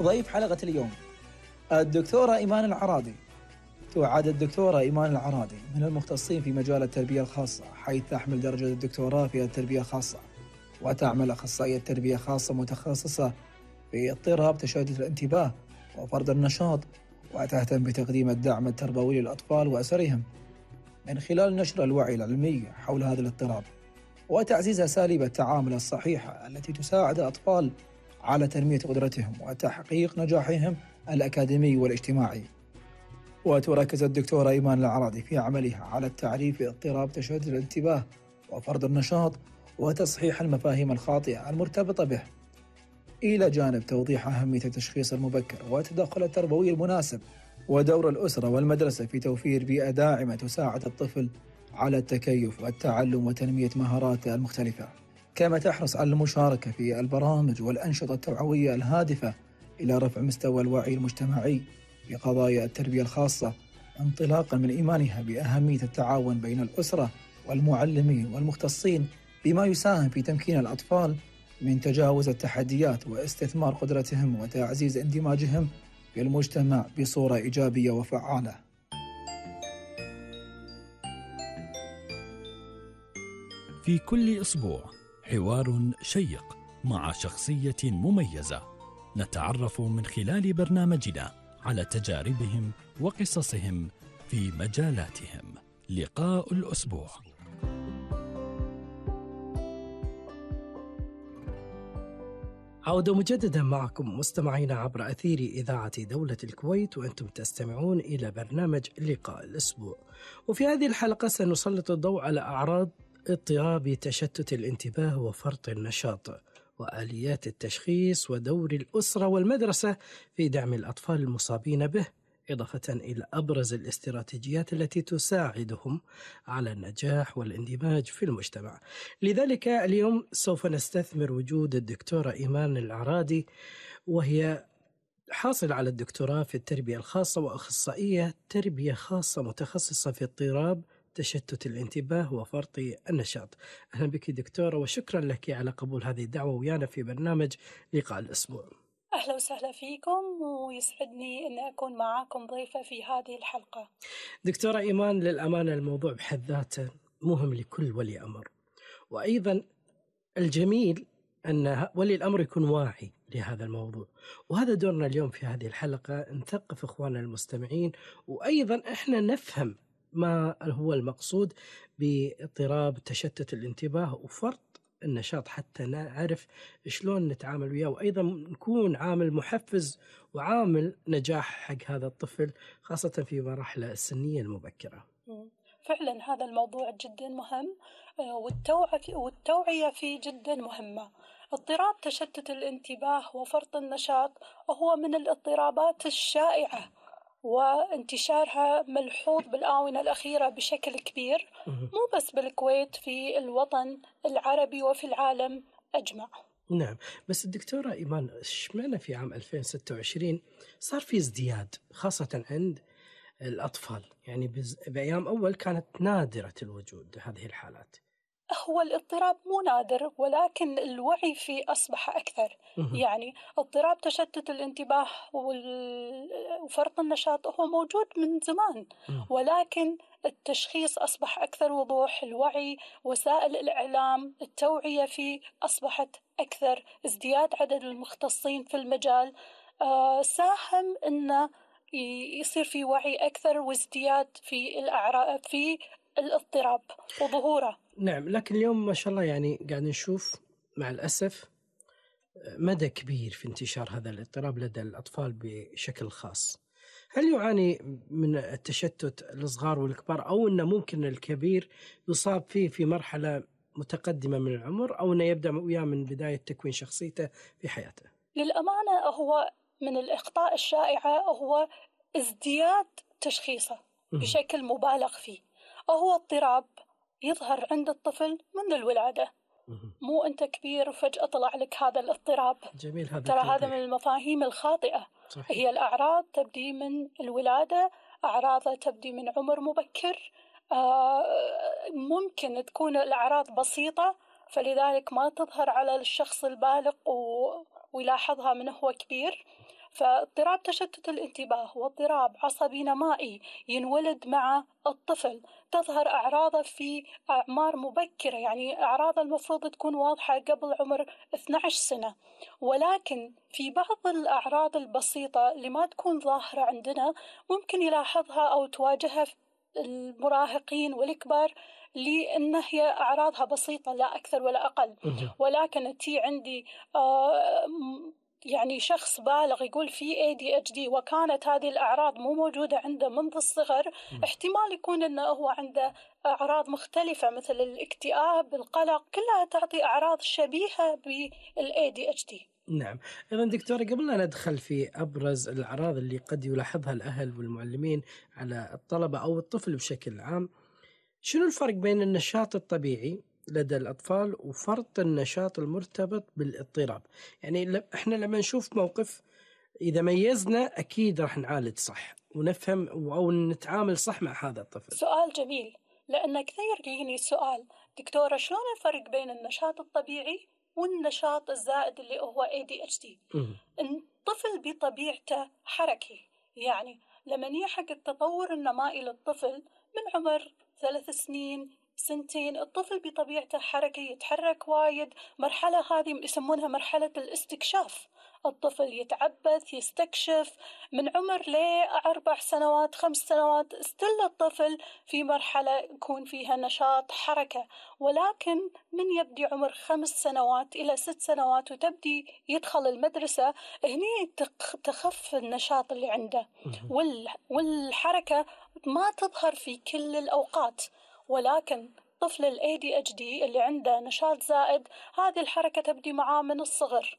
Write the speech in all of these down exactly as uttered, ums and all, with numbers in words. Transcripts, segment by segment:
ضيف حلقة اليوم الدكتورة إيمان العرادي. تعد الدكتورة إيمان العرادي من المختصين في مجال التربية الخاصة، حيث تحمل درجة الدكتوراه في التربية الخاصة، وتعمل أخصائية تربية خاصة متخصصة في اضطراب تشتت الانتباه وفرط النشاط، وتهتم بتقديم الدعم التربوي للأطفال وأسرهم من خلال نشر الوعي العلمي حول هذا الاضطراب وتعزيز أساليب التعامل الصحيحة التي تساعد الأطفال على تنمية قدرتهم وتحقيق نجاحهم الأكاديمي والاجتماعي. وتركز الدكتورة إيمان العرادي في عملها على التعريف باضطراب تشتت الانتباه وفرط النشاط وتصحيح المفاهيم الخاطئة المرتبطة به، إلى جانب توضيح أهمية التشخيص المبكر والتدخل التربوي المناسب، ودور الأسرة والمدرسة في توفير بيئة داعمة تساعد الطفل على التكيف والتعلم وتنمية مهاراته المختلفة، كما تحرص على المشاركة في البرامج والأنشطة التوعوية الهادفة إلى رفع مستوى الوعي المجتمعي في قضايا التربية الخاصة، انطلاقا من إيمانها بأهمية التعاون بين الأسرة والمعلمين والمختصين، بما يساهم في تمكين الأطفال من تجاوز التحديات واستثمار قدرتهم وتعزيز اندماجهم في المجتمع بصورة إيجابية وفعالة. في كل أسبوع حوار شيق مع شخصية مميزة، نتعرف من خلال برنامجنا على تجاربهم وقصصهم في مجالاتهم. لقاء الأسبوع. عودة مجددا معكم مستمعين عبر أثير إذاعة دولة الكويت، وأنتم تستمعون إلى برنامج لقاء الأسبوع. وفي هذه الحلقة سنسلط الضوء على أعراض اضطراب تشتت الانتباه وفرط النشاط، وآليات التشخيص، ودور الأسرة والمدرسة في دعم الأطفال المصابين به، إضافة إلى أبرز الاستراتيجيات التي تساعدهم على النجاح والاندماج في المجتمع. لذلك اليوم سوف نستثمر وجود الدكتورة إيمان العرادي، وهي حاصل على الدكتوراه في التربية الخاصة وأخصائية تربية خاصة متخصصة في اضطراب تشتت الانتباه وفرط النشاط. أهلا بك دكتورة، وشكرا لك على قبول هذه الدعوة ويانا في برنامج لقاء الأسبوع. أهلا وسهلا فيكم، ويسعدني أن أكون معاكم ضيفة في هذه الحلقة. دكتورة إيمان، للأمانة الموضوع بحد ذاته مهم لكل ولي أمر، وأيضا الجميل أن ولي الأمر يكون واعي لهذا الموضوع، وهذا دورنا اليوم في هذه الحلقة، نثقف إخواننا المستمعين، وأيضا إحنا نفهم ما هو المقصود باضطراب تشتت الانتباه وفرط النشاط، حتى نعرف شلون نتعامل وياه، وأيضا نكون عامل محفز وعامل نجاح حق هذا الطفل، خاصة في مراحله السنية المبكرة. فعلا هذا الموضوع جدا مهم، والتوعية فيه جدا مهمة. اضطراب تشتت الانتباه وفرط النشاط هو من الاضطرابات الشائعة، وانتشارها ملحوظ بالآونة الأخيرة بشكل كبير، مو بس بالكويت، في الوطن العربي وفي العالم أجمع. نعم، بس الدكتورة إيمان، اشمعنى في عام ألفين وستة وعشرين صار في ازدياد خاصة عند الأطفال؟ يعني بأيام أول كانت نادرة الوجود هذه الحالات. هو الاضطراب مو نادر، ولكن الوعي فيه أصبح أكثر. يعني اضطراب تشتت الانتباه وفرط النشاط هو موجود من زمان، ولكن التشخيص أصبح أكثر وضوح، الوعي، وسائل الإعلام، التوعية فيه أصبحت أكثر، ازدياد عدد المختصين في المجال آه ساهم أنه يصير في وعي أكثر وازدياد في الأعراض في الاضطراب وظهوره. نعم، لكن اليوم ما شاء الله يعني قاعد نشوف مع الأسف مدى كبير في انتشار هذا الاضطراب لدى الأطفال بشكل خاص. هل يعاني من التشتت الصغار والكبار، أو أنه ممكن الكبير يصاب فيه في مرحلة متقدمة من العمر، أو أنه يبدأ وياه من بداية تكوين شخصيته في حياته؟ للأمانة هو من الأخطاء الشائعة هو ازدياد تشخيصه بشكل مبالغ فيه. هو اضطراب يظهر عند الطفل منذ الولادة، مو أنت كبير وفجأة طلع لك هذا الاضطراب. جميل، هذا ترى هذا من المفاهيم الخاطئة. صحيح. هي الأعراض تبدي من الولادة، أعراضها تبدي من عمر مبكر. آه ممكن تكون الأعراض بسيطة، فلذلك ما تظهر على الشخص البالغ و... ويلاحظها من هو كبير. فاضطراب تشتت الانتباه واضطراب عصبي نمائي ينولد مع الطفل، تظهر أعراضه في أعمار مبكرة، يعني أعراض المفروض تكون واضحة قبل عمر اثنتي عشرة سنة، ولكن في بعض الأعراض البسيطة اللي ما تكون ظاهرة عندنا ممكن يلاحظها أو تواجهها المراهقين والكبار، لأن هي أعراضها بسيطة لا أكثر ولا أقل. ولكن تي عندي آه يعني شخص بالغ يقول في إيه دي إتش دي وكانت هذه الأعراض مو موجودة عنده منذ الصغر، احتمال يكون أنه هو عنده أعراض مختلفة مثل الاكتئاب، القلق، كلها تعطي أعراض شبيهة بال إيه دي إتش دي. نعم. إذا دكتورة، قبل لا ندخل في أبرز الأعراض اللي قد يلاحظها الأهل والمعلمين على الطلبة أو الطفل بشكل عام، شنو الفرق بين النشاط الطبيعي لدى الأطفال وفرط النشاط المرتبط بالاضطراب؟ يعني إحنا لما نشوف موقف إذا ميزنا أكيد راح نعالج صح ونفهم أو نتعامل صح مع هذا الطفل. سؤال جميل، لأن كثير يجيني سؤال دكتورة شلون الفرق بين النشاط الطبيعي والنشاط الزائد اللي هو إيه دي إتش دي؟ الطفل بطبيعته حركي، يعني لما نيجي حق التطور النمائي للطفل من عمر ثلاث سنين سنتين، الطفل بطبيعته حركي، يتحرك وايد. مرحلة هذه يسمونها مرحلة الاستكشاف، الطفل يتعبث يستكشف من عمر لأربع سنوات خمس سنوات، استل الطفل في مرحلة يكون فيها نشاط حركة. ولكن من يبدي عمر خمس سنوات إلى ست سنوات وتبدي يدخل المدرسة، هني تخف النشاط اللي عنده، والحركة ما تظهر في كل الأوقات. ولكن طفل ال إيه دي إتش دي اللي عنده نشاط زائد، هذه الحركة تبدي معاه من الصغر.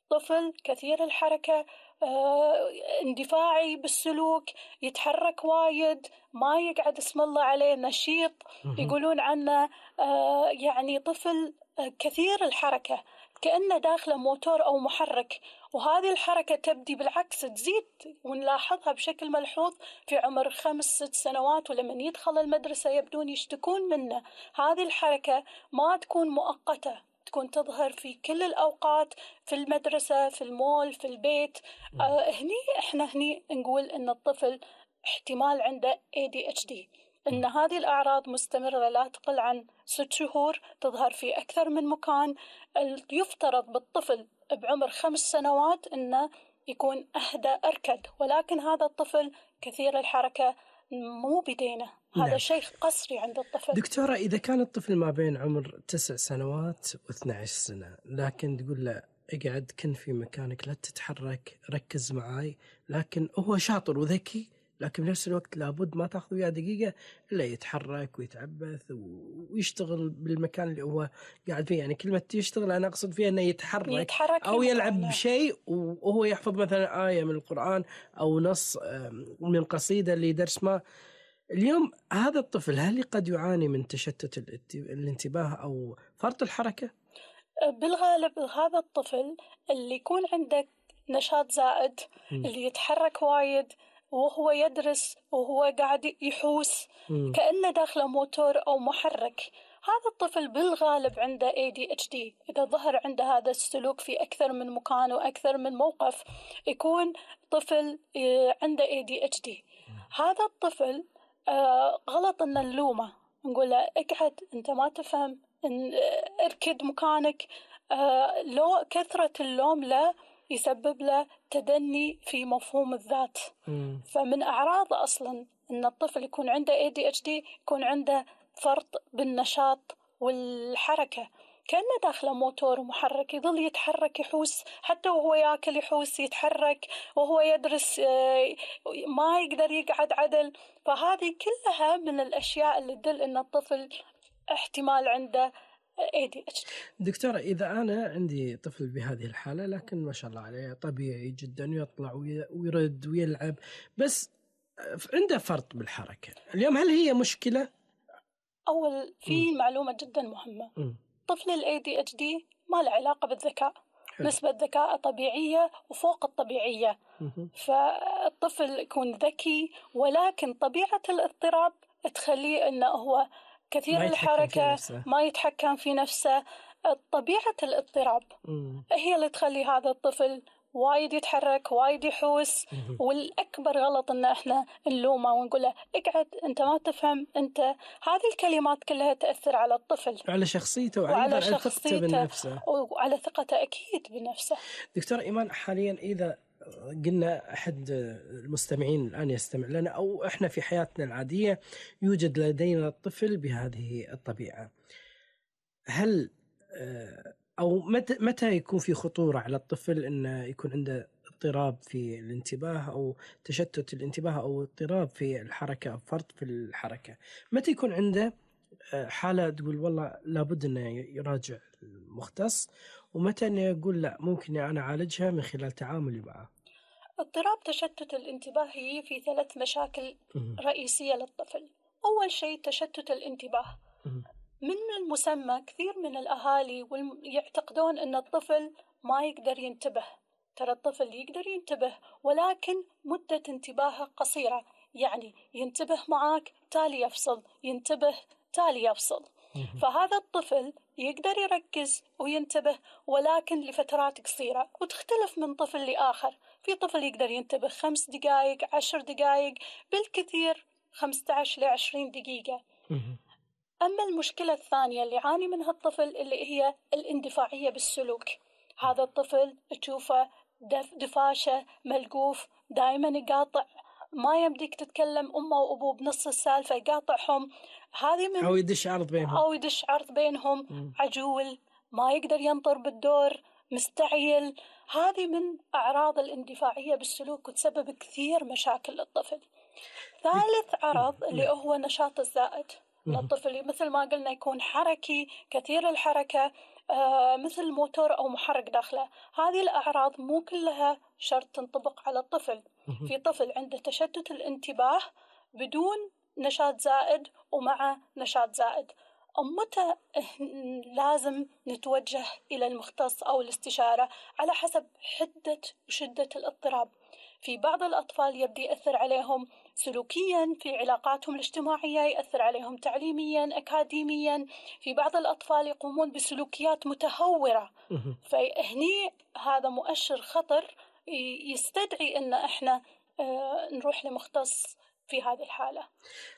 طفل كثير الحركة، آه، اندفاعي بالسلوك، يتحرك وايد، ما يقعد اسم الله عليه نشيط، يقولون عنه آه، يعني طفل آه، كثير الحركة، كأنه داخله موتور أو محرك. وهذه الحركة تبدي بالعكس تزيد، ونلاحظها بشكل ملحوظ في عمر خمس ست سنوات، ولما يدخل المدرسة يبدون يشتكون منه. هذه الحركة ما تكون مؤقتة، تكون تظهر في كل الأوقات، في المدرسة، في المول، في البيت. آه هني إحنا هني نقول إن الطفل احتمال عنده إيه دي إتش دي، إن هذه الأعراض مستمرة لا تقل عن ست شهور، تظهر في أكثر من مكان. يفترض بالطفل بعمر خمس سنوات إنه يكون أهدى أركد، ولكن هذا الطفل كثير الحركة مو بدينه. هذا نعم. شيء قصري عند الطفل. دكتورة، إذا كان الطفل ما بين عمر تسع سنوات واثنى عشر سنة، لكن تقول له اقعد كن في مكانك لا تتحرك ركز معاي، لكن هو شاطر وذكي، لكن بنفس الوقت لابد ما تأخذ وياه دقيقة إلا يتحرك ويتعبث ويشتغل بالمكان اللي هو قاعد فيه. يعني كلمة يشتغل أنا أقصد فيها أنه يتحرك, يتحرك أو يلعب بشيء وهو يحفظ مثلا آية من القرآن أو نص من قصيدة اللي درس ما. اليوم هذا الطفل هل قد يعاني من تشتت الانتباه أو فرط الحركة؟ بالغالب هذا الطفل اللي يكون عنده نشاط زائد م. اللي يتحرك وايد وهو يدرس وهو قاعد يحوس م. كأنه داخله موتور أو محرك، هذا الطفل بالغالب عنده إيه دي إتش دي. إذا ظهر عنده هذا السلوك في أكثر من مكان وأكثر من موقف، يكون طفل عنده إيه دي إتش دي. هذا الطفل آه غلط أن نلومه، نقول له اقعد أنت ما تفهم، إن اركد مكانك. آه لو كثرة اللوم له يسبب له تدني في مفهوم الذات. م. فمن أعراض أصلا أن الطفل يكون عنده إيه دي إتش دي يكون عنده فرط بالنشاط والحركة، كأنه داخله موتور محرك، يظل يتحرك يحوس، حتى وهو يأكل يحوس يتحرك، وهو يدرس ما يقدر يقعد عدل. فهذه كلها من الأشياء اللي تدل أن الطفل احتمال عنده إيه دي إتش دي. دكتورة، إذا أنا عندي طفل بهذه الحالة لكن ما شاء الله عليه طبيعي جدا ويطلع ويرد ويلعب، بس عنده فرط بالحركة، اليوم هل هي مشكلة؟ أول في م. معلومة جدا مهمة، م. طفل ال إيه دي إتش دي ما له علاقة بالذكاء، حلو. نسبة ذكاء طبيعية وفوق الطبيعية، م. فالطفل يكون ذكي، ولكن طبيعة الاضطراب تخليه أنه هو كثير ما الحركة، ما يتحكم في نفسه. طبيعة الاضطراب م. هي اللي تخلي هذا الطفل وايد يتحرك، وايد يحوس. والأكبر غلط إن إحنا نلومه ونقول له اقعد، أنت ما تفهم، أنت. هذه الكلمات كلها تأثر على الطفل، على شخصيته وعلى وأيضا على ثقته شخصيته بنفسه. وعلى ثقته أكيد بنفسه. دكتور إيمان، حاليا إذا قلنا أحد المستمعين الآن يستمع لنا أو إحنا في حياتنا العادية يوجد لدينا طفل بهذه الطبيعة، هل أو متى متى يكون في خطورة على الطفل إنه يكون عنده اضطراب في الانتباه أو تشتت الانتباه أو اضطراب في الحركة أو فرط في الحركة؟ متى يكون عنده حالة تقول والله لابد إنه يراجع المختص، ومتى إنه يقول لا ممكن أنا أعالجها من خلال تعاملي معه؟ اضطراب تشتت الانتباه هي في ثلاث مشاكل رئيسية للطفل. أول شيء تشتت الانتباه. من المسمى كثير من الأهالي يعتقدون أن الطفل ما يقدر ينتبه. ترى الطفل يقدر ينتبه، ولكن مدة انتباهه قصيرة، يعني ينتبه معك تالي يفصل، ينتبه تالي يفصل. فهذا الطفل يقدر يركز وينتبه، ولكن لفترات قصيرة، وتختلف من طفل لآخر. في طفل يقدر ينتبه خمس دقائق، عشر دقائق، بالكثير خمسة عشر لعشرين دقيقة. أما المشكلة الثانية اللي يعاني منها الطفل اللي هي الاندفاعية بالسلوك. هذا الطفل تشوفه دف دفاشة، ملقوف، دائما يقاطع، ما يمديك تتكلم أمه وأبوه بنص السالفة يقاطعهم. هذه من أو يدش عرض بينهم أو يدش عرض بينهم م. عجول، ما يقدر ينطر بالدور، مستعجل. هذه من أعراض الاندفاعية بالسلوك وتسبب كثير مشاكل للطفل. ثالث عرض اللي هو النشاط الزائد من الطفل، مثل ما قلنا يكون حركي، كثير الحركة، آه مثل موتور أو محرك داخله. هذه الأعراض مو كلها شرط تنطبق على الطفل. في طفل عنده تشتت الانتباه بدون نشاط زائد ومع نشاط زائد. متى لازم نتوجه إلى المختص أو الاستشارة؟ على حسب حدة وشدة الاضطراب. في بعض الأطفال يبدأ يأثر عليهم سلوكياً في علاقاتهم الاجتماعية، يأثر عليهم تعليمياً، أكاديمياً. في بعض الأطفال يقومون بسلوكيات متهورة. فهني هذا مؤشر خطر يستدعي أن احنا نروح لمختص في هذه الحالة.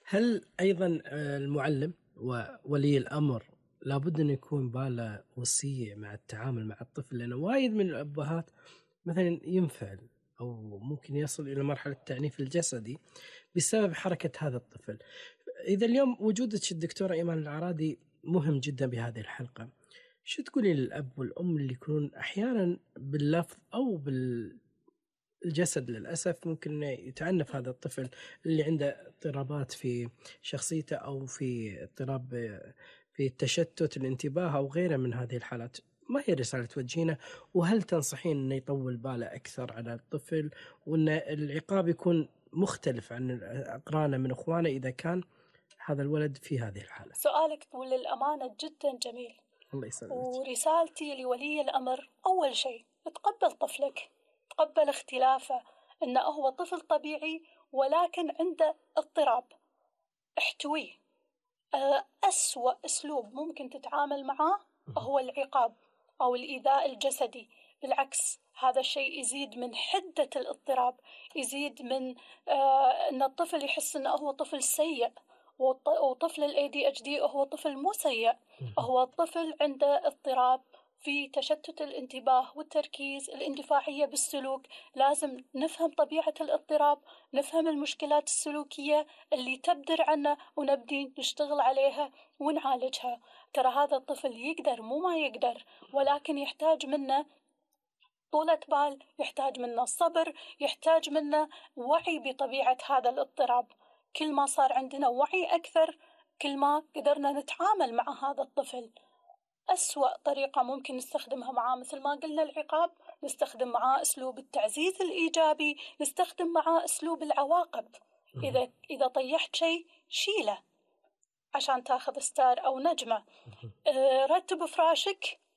هل أيضاً المعلم وولي الأمر لابد أن يكون باله وصية مع التعامل مع الطفل؟ لأنه وايد من الأبهات مثلاً ينفعل أو ممكن يصل إلى مرحلة التعنيف الجسدي بسبب حركة هذا الطفل. إذا اليوم وجودك الدكتورة إيمان العرادي مهم جدا بهذه الحلقة، شو تقولي للأب والأم اللي يكونون أحيانا باللفظ أو بالجسد للأسف ممكن يتعنف هذا الطفل اللي عنده اضطرابات في شخصيته أو في اضطراب في التشتت الانتباه أو غيره من هذه الحالات؟ ما هي رسالة توجهينه؟ وهل تنصحين أنه يطول باله أكثر على الطفل، وأن العقاب يكون مختلف عن أقرانه من أخوانه إذا كان هذا الولد في هذه الحالة؟ سؤالك للأمانة جدا جميل. الله يسلمك. ورسالتي لولي الأمر أول شيء تقبل طفلك، تقبل اختلافه، إنه هو طفل طبيعي ولكن عنده اضطراب، احتويه. أسوأ أسلوب ممكن تتعامل معه هو العقاب أو الإيذاء الجسدي. بالعكس، هذا الشيء يزيد من حدة الاضطراب، يزيد من آه أن الطفل يحس أنه هو طفل سيء. وطفل ال إيه دي إتش دي هو طفل مو سيء، هو طفل عنده اضطراب في تشتت الانتباه والتركيز، الاندفاعية بالسلوك. لازم نفهم طبيعة الاضطراب، نفهم المشكلات السلوكية اللي تبدر عنه، ونبدي نشتغل عليها ونعالجها. ترى هذا الطفل يقدر، مو ما يقدر، ولكن يحتاج منا طولة بال، يحتاج منا صبر، يحتاج منا وعي بطبيعة هذا الاضطراب. كل ما صار عندنا وعي أكثر، كل ما قدرنا نتعامل مع هذا الطفل. أسوأ طريقة ممكن نستخدمها معاه مثل ما قلنا العقاب، نستخدم معاه أسلوب التعزيز الإيجابي، نستخدم معاه أسلوب العواقب. إذا إذا طيحت شيء شيله عشان تاخذ ستار أو نجمة. أه رتب فراشك